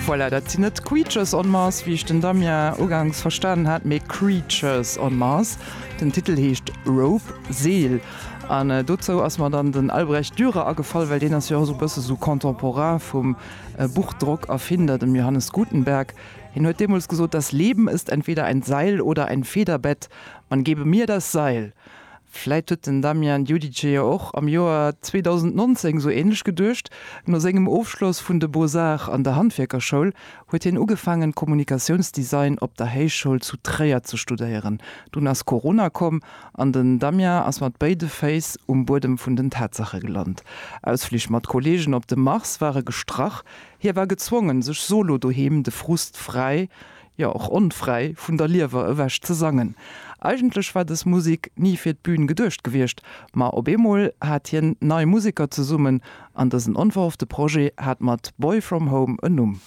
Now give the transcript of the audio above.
Voilà, dat sinn net Creatures on Mars, wéi ech den Damien ugangs verstanen hat, mee Creatures on Mars. Den Titel heescht Rope, Seel. An dozou ass mer dann den Albrecht Dürer agefall, well deen ass jo och esou e bësse sou Contemporain vum Buchdrockerfinder, dem Johannes Gutenberg. Hien huet deemools gesot, Das Leben ist entweder ein Seil oder ein Federbett, man gebe mir das Seil. Vläit huet den Damian Giudice jo och am Joer 2019 esou ähnlech geduecht. No sengem Ofschloss vun de Beaux-Arts an der Handwierkerschoul huet hien ugefaangen Kommunikatiounsdesign op der Héichschoul zu Tréier ze studéieren. Dunn ass Corona komm an den Damien ass mat béide Féiss um Buedem vun den Tatsache gelant. Ausflich mat Kollegen op de Mars ware gestrach, hie war gezwongen sech solo doheem de Frust fräi jo och onfräi, vun der Liewer ewech ze sangen. Eigentlech war dës Musik ni fir d'Bün geduecht gewiescht, ma op eemol hat hien nei Museker zesummen an dësen onverhoffte Projet hat mat Boy From Home en Numm.